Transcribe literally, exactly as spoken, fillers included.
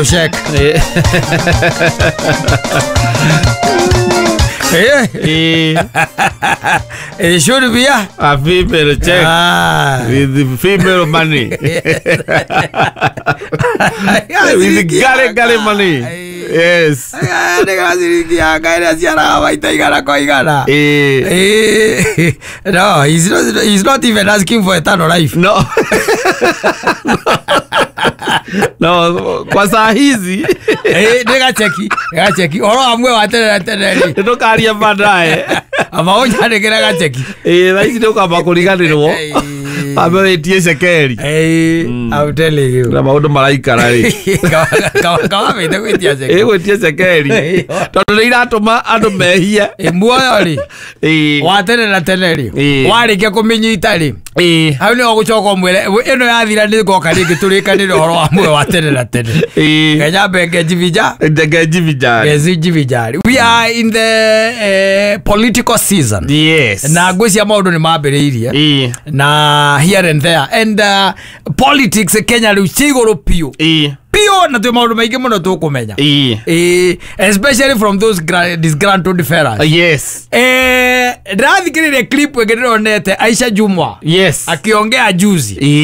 Check. Eh. Eh, Eh, it should be a a female check ah. with the female money. With the gale gale money. Yes. Nä yanga ä rä a ciaraga maita igana kwa igana. Eh, Eh, no, he's not, he's not even asking for eternal life. No. No, kwa saa hizi Eh, nä gaceki gaceki horo wa muoyo wa tene na tene rä nĩtũkaria baadaye. Amba å nyandä kä re gaceki. Eh, thaa ici nĩũkamba kũriganĩrwo Eh. ambe wĩtie cekeri Eh, I'm telling you. na maũndũ maraikara rĩ. Kawambä te gwä tia ceki. Ĩ gwĩtie cekeri tondũ nĩ iratũma andũ mehie. Eh, muoyo rä Ĩ. wa tene na tene rä Eh. warä kia kå mä nyita rä Ĩ. hau nä å gå coka å mwä re ä no yathira nä ngoka rä ngä tå rä kanä re å horo wa muoyo wa tene na tene. Ĩ. Kenya mbenge njibija. Ndege njibijari. Njibijari. We are in the uh, political season. Yes. Na ngwĩcia maũndũ nĩ mambĩrĩirie Ĩ. na here and there and uh, politics Kenya rĩu ci igũrũ piũ Ĩ. piũ na twĩ maũndũ maingĩ mũno tũkũmenya. Ĩ. Ĩ, especially from those gra- disgruntled fellas. Yes. Eh, ndĩrathikĩrĩria clip ĩngĩ ndĩronete Aisha Jumwa Yes. akiongea juzi. Ĩ.